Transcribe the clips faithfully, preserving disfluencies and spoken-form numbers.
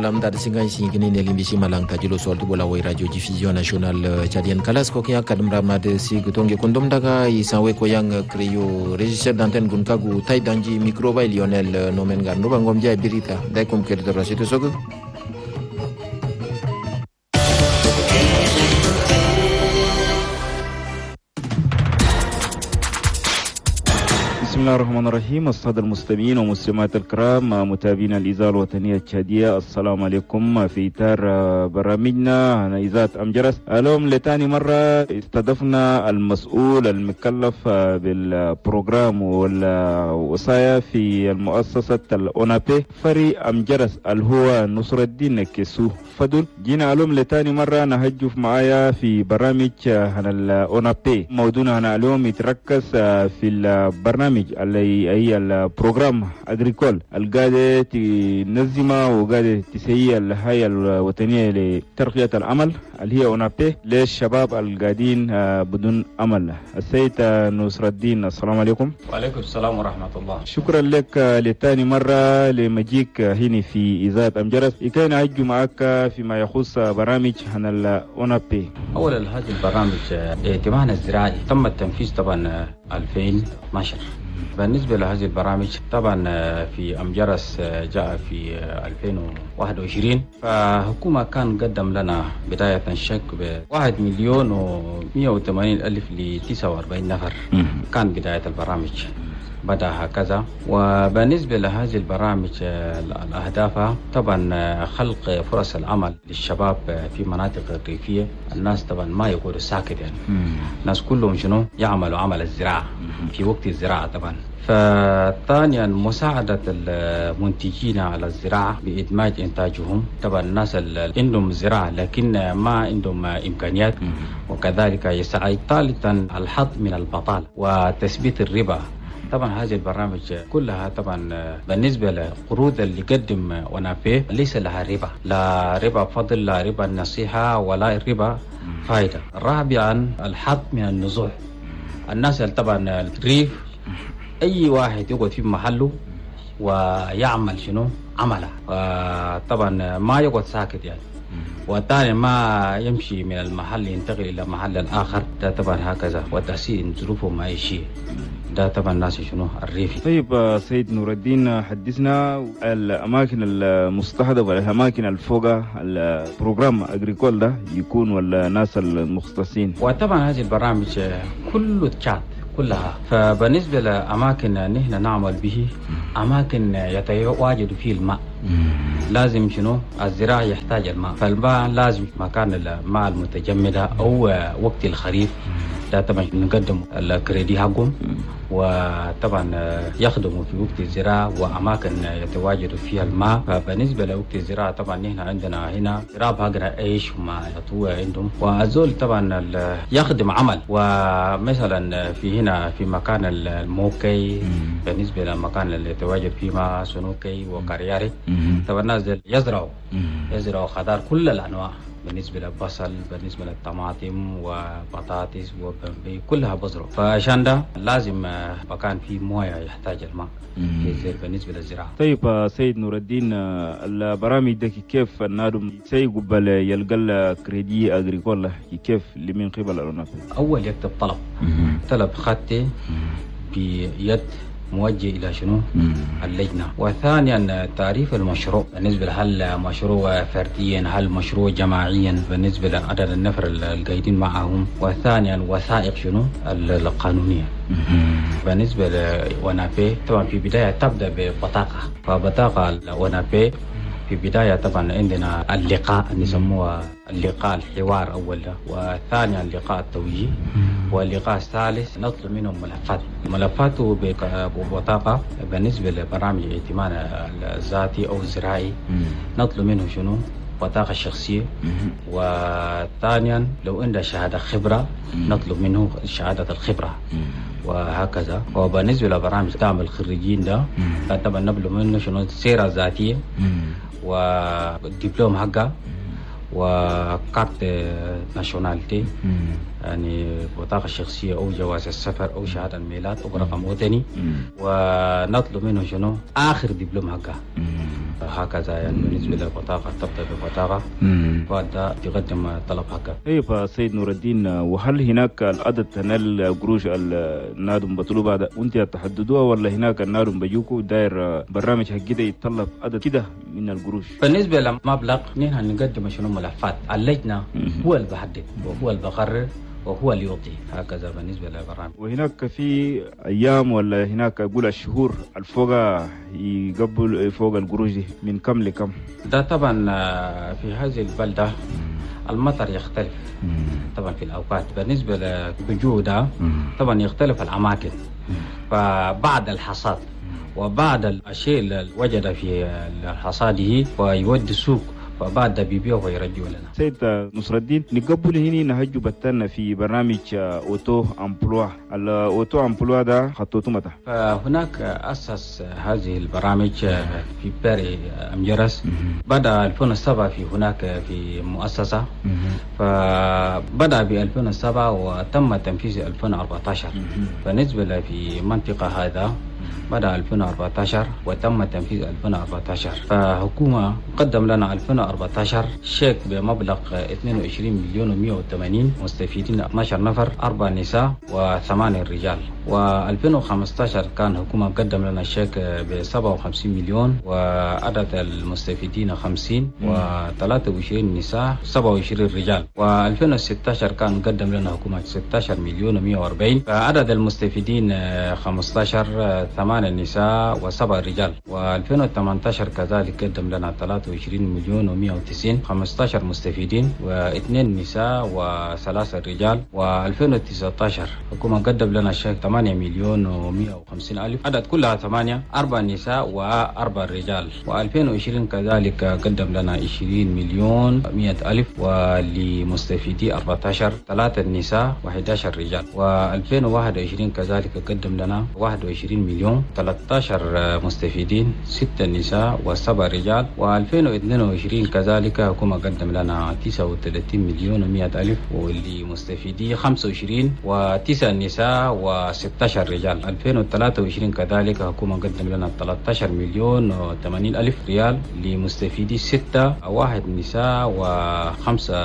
Walam dar singan singini nelimbishi malang tajilo soltu bola wai radio diffusion nationale tchadienne kalas ko kya kadum ramad si gutonge kondom daga isanwe ko yang creo régisseur d'antenne gunkagu tay danji micro bay Lionel nomen gar no bangom jay birita day kom kedo rasito sogo. بسم الله الرحمن الرحيم. السادة المستمعين ومستمعات الكرام متابعين الإذاعة الوطنية التشادية، السلام عليكم. في إطار برامجنا عن إذاعة أمجرس، اليوم لتاني مرة استضفنا المسؤول المكلف بال programme والوصايا في المؤسسة الأونابي فري أمجرس اللي هو نصر الدين كيسو فضل. جينا اليوم لتاني مرة نهجف معايا في برامج عن الأونابي. موضوعنا هنا اليوم يتركز في البرنامج اللي هي ال programme agricole القادة تنظمها وقادة تسيئ الهيئة الوطنية لترقية العمل اللي هي أونابي للشباب القادين بدون عمل. السيد نصر الدين، السلام عليكم. وعليكم السلام ورحمة الله. شكرا لك لتاني مرة لمجيك هنا في إذاعة أمجرس كي نعجو معك فيما يخص برامج عن الأونابي. أولا هذه البرامج ائتمان الزراعي تم التنفيذ طبعا ألفين واثني عشر. بالنسبة لهذه البرامج طبعا في أمجرس جاء في ألفين وواحد وعشرين، فحكومة كان قدم لنا بداية شك بواحد مليون ومئة وثمانين ألف لتسعة وأربعين نفر. كان بداية البرامج بدأ هكذا. وبالنسبة لهذه البرامج الأهداف طبعا خلق فرص العمل للشباب في مناطق الريفية. الناس طبعا ما يقولوا ساكت يعني، الناس كلهم شنو يعملوا عمل الزراعة في وقت الزراعة طبعا. فثانيا مساعدة المنتجين على الزراعة بإدماج إنتاجهم. طبعا الناس اللي عندهم زراعة لكن ما عندهم إمكانيات وكذلك يساعد. ثالثا الحد من البطالة وتثبيت الربا. طبعا هذه البرامج كلها طبعا بالنسبة للقروض اللي قدم أونابي ليس لها ربا، لا ربا فضل، لا ربا النصيحة، ولا ربا فائدة. رابعا الحد من النزوح. الناس اللي طبعا الريف أي واحد يقعد في محله ويعمل شنو عمله، طبعا ما يقعد ساكت يعني، والثاني ما يمشي من المحل ينتقل إلى محل الآخر، ده طبعا هكذا، وتحسين ظروفه معيشية، ده طبعا الناس شنو الريفي. طيب سيد نور الدين، حدثنا الأماكن المستهدفة والأماكن الفوقة ال programme agricole ده يكون ولا الناس المختصين؟ وطبعا هذه البرامج كله تشات كلها. فبالنسبة لأماكن نحن نعمل به أماكن يتواجد فيه الماء، لازم شنو الزراعة يحتاج الماء، فالماء لازم مكان الماء المتجمدة أو وقت الخريف ده طبعا نقدم الكريدي حقهم، وطبعا يخدموا في وقت الزراعة وأماكن يتواجد فيها الماء. فبالنسبة لوقت الزراعة طبعا نحن عندنا هنا زراعة بقرة عيش وما يطوى عندهم، وأزول طبعا يخدم عمل. ومثلا في هنا في مكان الموكي، بالنسبة للمكان اللي يتواجد فيه ما سنوكي وكارياري، طبعا الناس يزرعوا يزرعوا خضار كل الأنواع، بالنسبة للبصل، بالنسبة للطماطم وبطاطس وبمبي كلها بزرع. فعشان ده لازم مكان فيه موية يحتاج الماء في بالنسبة للزراعة. طيب سيد نور الدين، البرامج ده كيف النادم سيقبل يلقى crédit agricole كيف لمن قبل الأونابي؟ أول يكتب طلب، طلب خطي بيد موجه إلى شنو اللجنة. وثانيا تعريف المشروع، بالنسبة هل مشروع فرديا هل مشروع جماعيا، بالنسبة لعدد النفر القايدين معهم. وثانيا وثائق شنو القانونية. بالنسبة لأونابي طبعا في بداية تبدأ ببطاقة، فبطاقة الأونابي في بداية طبعا عندنا اللقاء نسموه اللقاء الحوار أولا، وثانيا اللقاء التوجيه، واللقاء الثالث نطلب منهم ملفات، ملفات ببطاقة بالنسبة لبرامج ائتمان الذاتي أو الزراعي نطلب منهم شنو بطاقة شخصية، وثانيا لو عنده شهادة خبرة نطلب منه شهادة الخبرة وهكذا. وبالنسبة لبرامج دعم الخريجين ده طبعا نطلب منه شنو السيرة الذاتية والدبلوم حقه و carte nationalité يعني بطاقة شخصية أو جواز السفر أو شهادة الميلاد أو رقم وطني، ونطلب منه شنو آخر دبلوم حقه هكذا. يعني بالنسبة للبطاقة تبدأ بالبطاقة بعد يقدم طلب حقه. طيب سيد نور الدين، وهل هناك العدد تنال قروش النادم بطلوب هذا وانت تحددوها، ولا هناك النادم بيجوكو داير برنامج حق كده يتطلب عدد كده من القروش؟ بالنسبة للمبلغ نحن نقدم شنو ملفات اللجنة، هو اللي بحدد وهو اللي بقرر وهو اللي يعطي هكذا بالنسبة للبرنامج. وهناك في أيام ولا هناك أقول الشهور الفوق يقبل فوق القروش دي من كم لكم؟ ده طبعا في هذه البلدة المطر يختلف طبعا في الأوقات. بالنسبة للجودة طبعا يختلف الأماكن، فبعد الحصاد وبعد الشيء اللي وجد في حصاده ويودي السوق وبعد بيبيعه ويرجعوا لنا. سيد نصر الدين، نقبل هنا نهجو بتنا في برنامج auto-emploi، ال auto-emploi ده خطوته متى؟ فهناك أسس هذه البرامج في باري أمجرس، بدأ ألفين وسبعة في هناك في مؤسسة، فبدأ ب ألفين وسبعة وتم تنفيذ ألفين وأربعة عشر. بالنسبة في منطقة هذا بدأ ألفين وأربعة عشر وتم تنفيذ ألفين وأربعة عشر. فحكومة قدم لنا ألفين وأربعة عشر شيك بمبلغ اثنين وعشرين مليون ومئة وثمانين مستفيدين اثنا عشر نفر، أربع نساء وثمانية رجال. وألفين وخمسة عشر كان حكومة قدم لنا شيك ب سبعة وخمسين مليون وعدد المستفيدين خمسين وثلاثة وعشرين نساء سبعة وعشرين رجال. وألفين وستة عشر كان قدم لنا حكومة ستة عشر مليون ومئة وأربعين، فعدد المستفيدين خمسة عشر، ثمانية نساء وسبع رجال. وألفين وثمانية عشر كذلك قدم لنا ثلاثة وعشرين مليون ومئة وتسعين، خمسة عشر مستفيدين واثنين نساء وثلاثة رجال. وألفين وتسعة عشر حكومة قدم لنا شيك ثمانية مليون ومئة وخمسين ألف، عدد كلها ثمانية، أربع نساء وأربع رجال. وألفين وعشرين كذلك قدم لنا عشرين مليون مئة ألف ولمستفيدي أربعة عشر، ثلاثة نساء وأحد عشر رجال. وألفين وواحد وعشرين كذلك قدم لنا واحد وعشرين مليون، ثلاثة عشر مستفيدين، ستة نساء وسبع رجال. وألفين واثنين وعشرين كذلك حكومة قدم لنا تسعة وثلاثين مليون ومئة ألف ولمستفيدي خمسة وعشرين وتسع نساء وستة عشر رجال. ألفين وثلاثة وعشرين كذلك حكومة قدم لنا ثلاثة عشر مليون وثمانين ألف ريال لمستفيدي ستة، واحد نساء وخمسة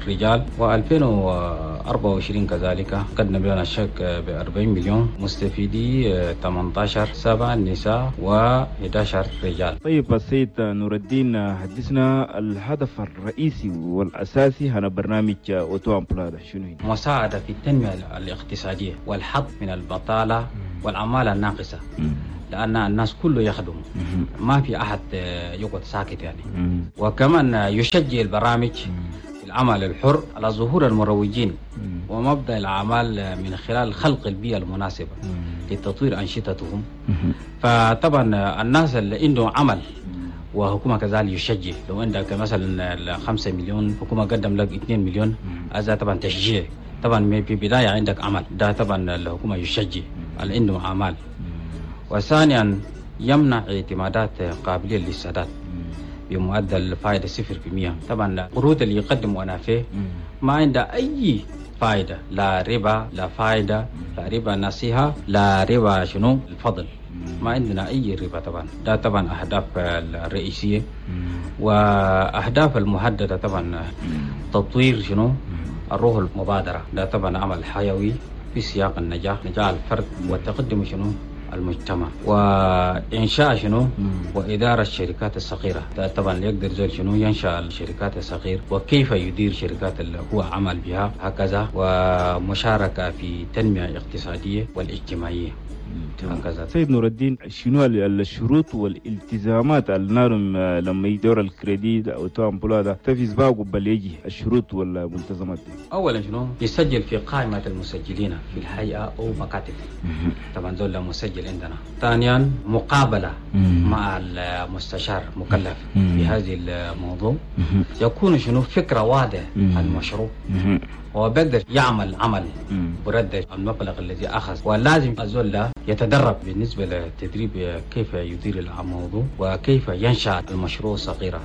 رجال. وألفين وأربعة وعشرين كذلك قدم لنا شيك ب أربعين مليون مستفيدي ثمانية عشر، سبعة نساء وأحد عشر رجال. طيب السيد نور الدين، حدثنا الهدف الرئيسي والأساسي هنا برنامج auto-emploi شنو هي؟ مساعدة في التنمية الاقتصادية والحد من البطالة والعمالة الناقصة، لأن الناس كله يخدم، ما في أحد يقعد ساكت يعني. وكمان يشجع البرامج في العمل الحر على ظهور المروجين ومبدأ الأعمال من خلال خلق البيئة المناسبة لتطوير أنشطتهم. فطبعا الناس اللي عندهم عمل وحكومة كذلك يشجع، لو عندك مثلا خمسة مليون حكومة قدم لك اثنين مليون، هذا طبعا تشجيع. طبعا في بداية عندك عمل، ده طبعا الحكومة يشجع اللي عندهم أعمال. وثانيا يمنع اعتمادات قابلية للسداد بمعدل فائدة صفر في مية. طبعا القروض اللي يقدم أنا فيه ما عنده أي فائدة، لا ربا لا فائدة، لا ربا نصيحة، لا ربا شنو الفضل، ما عندنا أي ربا طبعا. ده طبعا أهداف الرئيسية. وأهداف المحددة طبعا تطوير شنو الروح المبادرة، ده طبعا عمل حيوي في سياق النجاح، نجاح الفرد والتقدم شنو المجتمع، وإنشاء شنو وإدارة الشركات الصغيرة. ده طبعا يقدر زول شنو ينشأ الشركات الصغيرة وكيف يدير شركات اللي هو عمل بها هكذا، ومشاركة في التنمية الاقتصادية والاجتماعية هكذا. سيد نور الدين، شنو الشروط والالتزامات النارم لما يدور ال crédit auto-emploi ده تفيز باقو قبل يجي الشروط والملتزمات دي؟ اولا شنو يسجل في قائمة المسجلين في الهيئة او مكاتب، طبعا دول مسجل عندنا. ثانيا مقابلة مع المستشار مكلف في هذه الموضوع، يكون شنو فكرة واضحة عن المشروع، هو بيقدر يعمل عمل برد المبلغ الذي أخذ، ولازم الزول يتدرب بالنسبة للتدريب كيف يدير الموضوع وكيف ينشأ المشروع الصغيرة،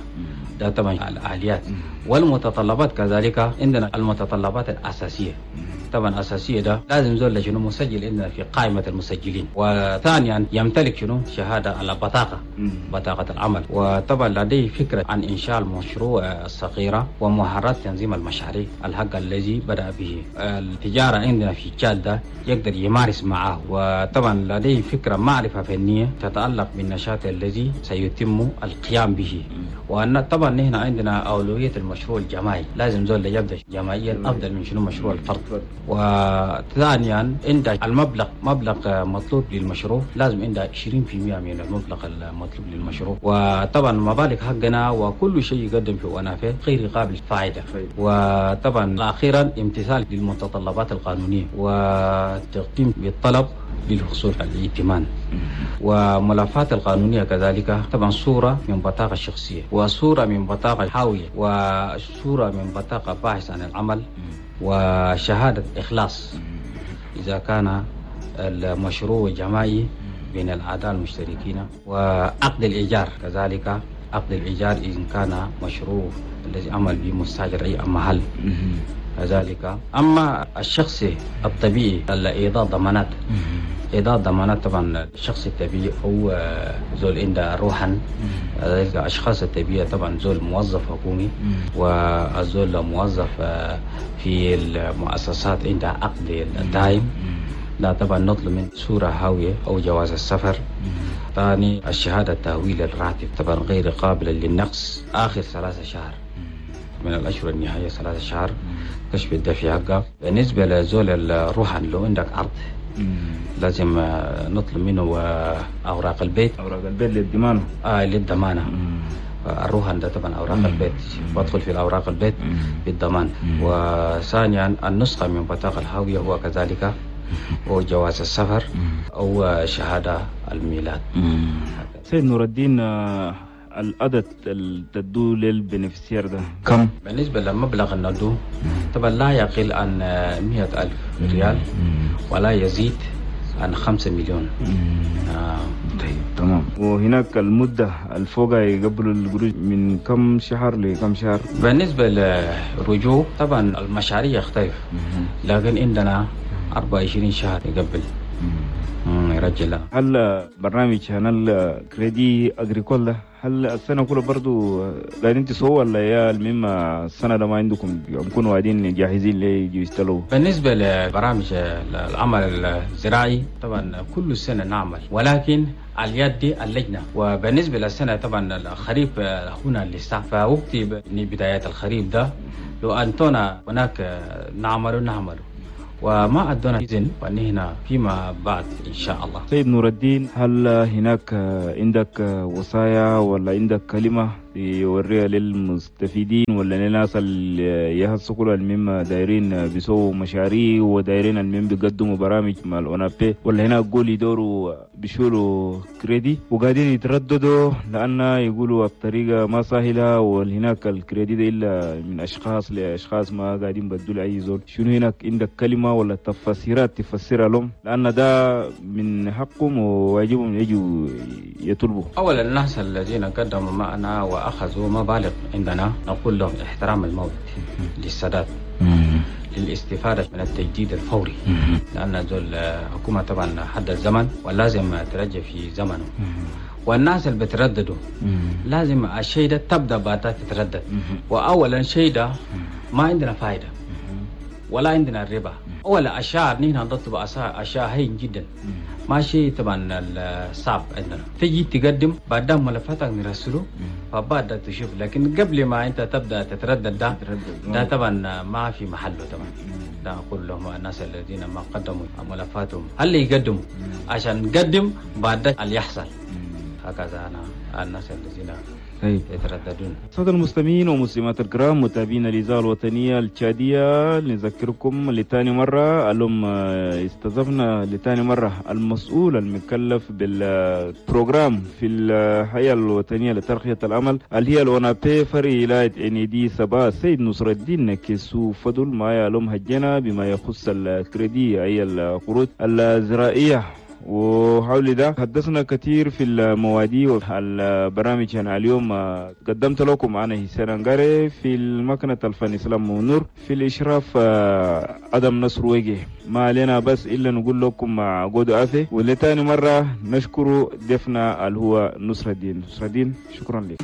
ده طبعا الآليات والمتطلبات. كذلك عندنا المتطلبات الأساسية، طبعا أساسية ده لازم زول شنو مسجل عندنا في قائمة المسجلين، وثانيا يمتلك شنو شهادة على بطاقة بطاقة العمل، وطبعا لديه فكرة عن إنشاء المشروع الصغيرة ومهارات تنظيم المشاريع الحق الذي بدأ به التجارة عندنا في تشاد ده يقدر يمارس معه، وطبعا لديه فكرة معرفة فنية تتعلق بالنشاط الذي سيتم القيام به. وأن طبعا نحن عندنا أولوية المشروع الجماعي، لازم زول يبدأ جماعيا أفضل من شنو مشروع الفرد. وثانيا عند المبلغ مبلغ مطلوب للمشروع لازم عنده عشرين بالمئة من المبلغ المطلوب للمشروع، وطبعا مبالغ حقنا وكل شيء يقدم في ونافع غير قابل فائدة. وطبعا أخيرا امتثال للمتطلبات القانونية وتقديم بالطلب للحصول على الائتمان وملفات القانونية كذلك، طبعا صورة من بطاقة شخصية وصورة من بطاقة حاوية وصورة من بطاقة باحث عن العمل وشهادة إخلاص إذا كان المشروع جماعي بين الأعضاء المشتركين، وعقد الإيجار كذلك عقد الإيجار إن كان مشروع الذي عمل به مستأجر أي محل كذلك. أما الشخص الطبيعي إيضاح ضمانات، إيضاح ضمانات طبعا الشخص الطبيعي هو زول عنده روحا، الأشخاص الطبيعية طبعا زول موظف حكومي وزول موظف في المؤسسات عنده عقد دائم، لا طبعا نطلب من صورة هاوية أو جواز السفر. ثاني الشهادة التهويل الراتب طبعا غير قابلة للنقص آخر ثلاثة شهر من الأشهر النهائية ثلاثة شهر كشف الدفع حقه. بالنسبة لزول الروحان لو عندك أرض لازم نطلب منه أوراق البيت، أوراق البيت للضمانة، آه للضمانة. الروحان ده طبعا أوراق مم. البيت بدخل في الأوراق البيت مم. بالضمان. وثانيا النسخة من بطاقة الهوية هو كذلك وجواز السفر أو شهادة الميلاد. سيد نور الدين، العدد اللي تدو لل bénéficiaire ده كم؟ بالنسبة لمبلغ الندو طبعا لا يقل عن مئة ألف ريال ولا يزيد عن خمسة مليون. آه. طيب تمام. وهناك المدة الفوقة يقبلوا القروش من كم شهر لكم شهر؟ بالنسبة للرجوع طبعا المشاريع يختلف، لكن عندنا أربعة وعشرين شهر يقبل يرجع. هل برنامج هنا ال crédit agricole هل السنة كلها برضو قاعدين تسووا ولا يا المهم السنة ده ما عندكم يكونوا قاعدين جاهزين ليجوا يستلوا؟ بالنسبة لبرامج العمل الزراعي طبعا كل سنة نعمل، ولكن اليد دي اللجنة. وبالنسبة للسنة طبعا الخريف هنا لسه، فوقت بداية الخريف ده لو أنتونا هناك نعمل نعمل وما أدونا إذن ونحن فيما بعد إن شاء الله. سيد نور الدين، هل هناك عندك وصايا ولا عندك كلمة يوريها للمستفيدين ولا للناس اللي يهسكوا المهم دايرين بيسووا مشاريع ودايرين المهم بيقدموا برامج مع الأونابي، ولا هناك قول يدوروا بيشولوا كريدي وقاعدين يترددوا لأن يقولوا الطريقة ما سهلة وهناك الكريدي ده إلا من أشخاص لأشخاص ما قاعدين بدوا أي زول؟ شنو هناك عندك كلمة ولا تفسيرات تفسرها لهم لأن ده من حقهم وواجبهم يجوا يطلبوا؟ أولا الناس الذين قدموا معنا وأخذوا مبالغ عندنا نقول لهم احترام الموت للسداد للاستفادة من التجديد الفوري، لأن ذو الحكومة طبعا حد الزمن ولازم ترجع في زمنه. والناس اللي بترددوا لازم الشيء ده تبدأ بعدها تتردد. وأولا شيء ده ما عندنا فائدة ولا عندنا الربا ولا أشياء، نحن نطلب أشياء هين جدا ماشي طبعا الصعب عندنا. تجي تقدم بعد ملفاتك نرسله فبعد تشوف، لكن قبل ما انت تبدا تتردد ده ده طبعا ما في محله. طبعا ده اقول لهم الناس الذين ما قدموا ملفاتهم هل يقدموا عشان نقدم بعد اللي يحصل. هكذا انا الناس الذين يترددون. السادة المستمعين ومسلمات الكرام متابعين الإذاعة الوطنية التشادية، نذكركم لثاني مرة اليوم استضفنا لثاني مرة المسؤول المكلف بال programme في الهيئة الوطنية لترقية العمل اللي هي الأونابي فرع ولاية إنيدي سبا، السيد نصر الدين كيسو فضل، ما يعلم هجنا بما يخص الكريدي أي القروض الزراعية. وحول ده حدثنا كثير في المواضيع والبرامج. أنا اليوم قدمت لكم أنا حسين أنغاري، في المكنة الفن إسلام منور، في الإشراف أدم نصر وجه. ما علينا بس إلا نقول لكم قودوا عافية، ولتاني مرة نشكر ضيفنا اللي هو نصر الدين. نصر الدين شكرا لك.